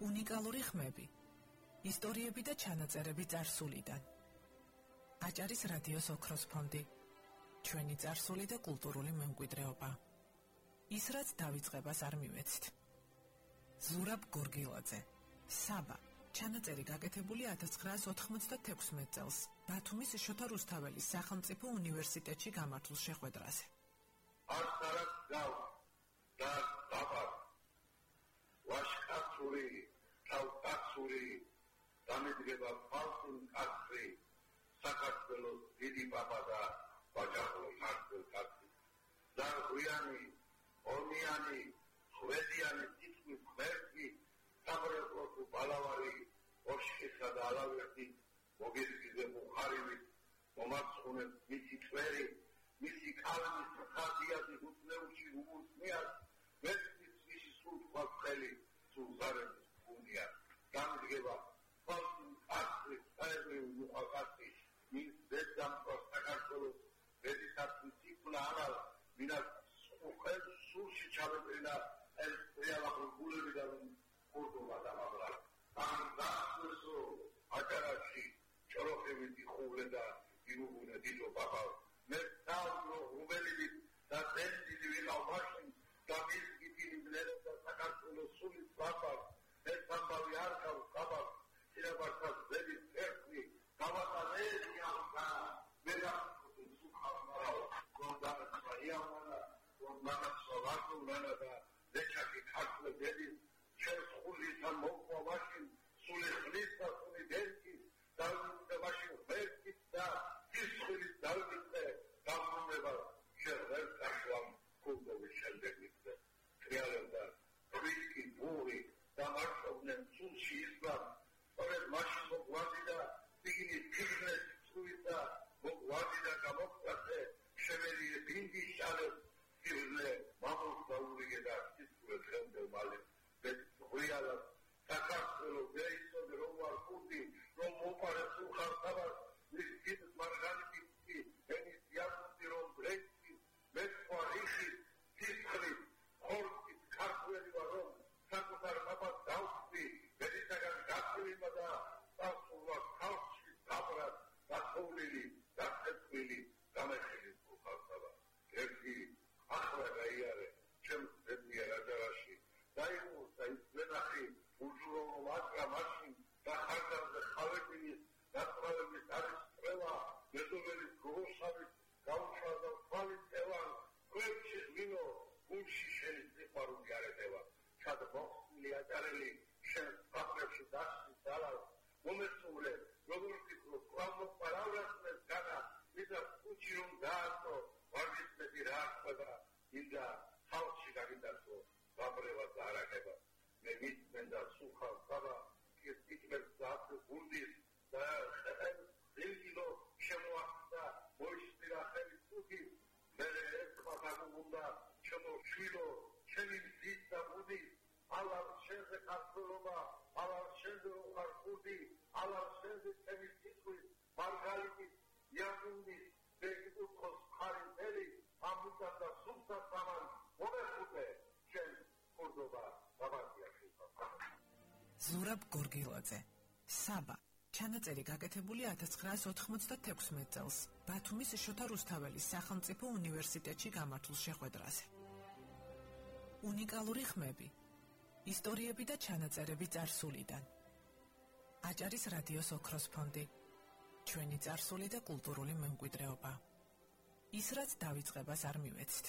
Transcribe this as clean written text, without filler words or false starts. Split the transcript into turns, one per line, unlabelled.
უნიკალური ხმები, ისტორიები და ჩანაწერები წარსულიდან. აჭარის რადიოს ოქროს ფონდი, ჩვენი წარსული და კულტურული მემკვიდრეობა. ის რაც დავიწყებას არ მივეცით. ზურაბ გორგილაძე, საბა. ჩანაწერი გაკეთებული 1996 წელს ბათუმის შოთა რუსთაველის სახელმწიფო უნივერსიტეტში გამართულ შეხვედრაზე.
Arsarat gav, dar dabar, vashkatsuri, tavtatsuri, damedgeba palsun katri, Sakartvelos didi baba da bajaqlo martvel katri. Dar hruyani, ormiyani, hrvediyani, titmi khmertvi, sabreplotu balavari, oshkisa da alaverti, mogirgize bukharivi, momatskhune misi tveri, მისი კალმის ხაზიაზი უცნეულში უმუსმიათ ვეცის ვისი სულ ხელი სულ ზარების უნია გამდგება ფალსი აკრი საერთოდ უყავკაცი მის დედამ საქართველოს დედისაცი ციკლა არა მინა ხელ სულში ჩავეტრინა ეს რეალურ გულებიდან კულტურა დამაბრა ამ დასო აჭარაში ჭოროხები ხულე და ირუგუნე დიდო ბაბა მე თავო რუბელი და დენდილი ვიყავ და მის გიტინიბლერ და საქართველოს სული ბაბა ეს ამბავი არ გავ ბაბა სირაბარსას ძელი ერთხი გავატანე ახლა მე რა სუხავნა კონდანა საიამანა კონდანა სოლაკუნა და დეჩაკი ქართულ დედი ჩემს ხულითან მოყვა მაშინ სული ხლის და სული დენკი და მაშინ ვერკი და ისხილი დავიდე გამომება შევერ კაშლამ კულტურის შემდეგზე რეალობა რისკი ბური და მარშობდნენ სულში ისლამ სწორედ მაშინ მოგვადი და იგი ფიქრეს სუიცა მოგვადი და გამოგწაზე შემელი დინგი შალე ფიქრე მამოს დაურიგე და ისწრე ხელმდე მალე რეალობა საქართველოს ვეისოდი რომ არ კუდი რომ მოპარე სულხარ ის მარგალიტი ენის იასტი რომ ბრექი მეცხვარიხი თითრი ხორცი ქართველი ვარო საკუთარ პაპას დავსვი ბედისაგან გაწვიმა და სასულვა ხალხში დაბრა დახოვლილი დახეთვილი გამეხილი ხალხობა ერთი ახლა გაიარე ჩემს ძებნია რაჯარაში დაიხურა ის ვენახი უჯურო მაკრა მაშინ და ხარდამზე ხავექილი დაწვალების არის ყველა მეზობელი გროსავი გაუშვადა ხვალის ევან კვეთში მინო გულში შენი სიყვარული არეთევა ჩადბოხილი აჭარელი შენ პატრებში დასი ძალა მომესულე როგორ ფიქრო ყავმო პარავლასმეს განა მიდა კუჩი რომ დაასო ვარდისმეთი რა ხდება ინდა ხალხში გაგიდასო გაბრევა და არაკება მე მისმენდა სუხალ ხაბა ის ტიკმერს დაასო გუნდის და დილგილო შემოახდა მოიშტირა ხელი თუგი მე ეხმაგუნდა შემოშვილო ჩემი ძის და ბუდი ალარ შენზე ქართულობა ალარ შენზე უხარხუდი ალარ შენზე ჩემი თითქოს მარგალიტი იაგუნდი ბეგუქოს ხარინელი ამუთა და სულთა სამან მომეხუტე შენ კორდობა დაბადიახი
ზურაბ გორგილაძე საბა ჩანაწერი გაკეთებული 1996 წელს ბათუმის შოთა რუსთაველის სახელმწიფო უნივერსიტეტში გამართულ შეხვედრაზე. უნიკალური ხმები, ისტორიები და ჩანაწერები წარსულიდან. აჭარის რადიოს ოქროს ფონდი, ჩვენი წარსული და კულტურული მემკვიდრეობა. ის რაც დავიწყებას არ მივეცით.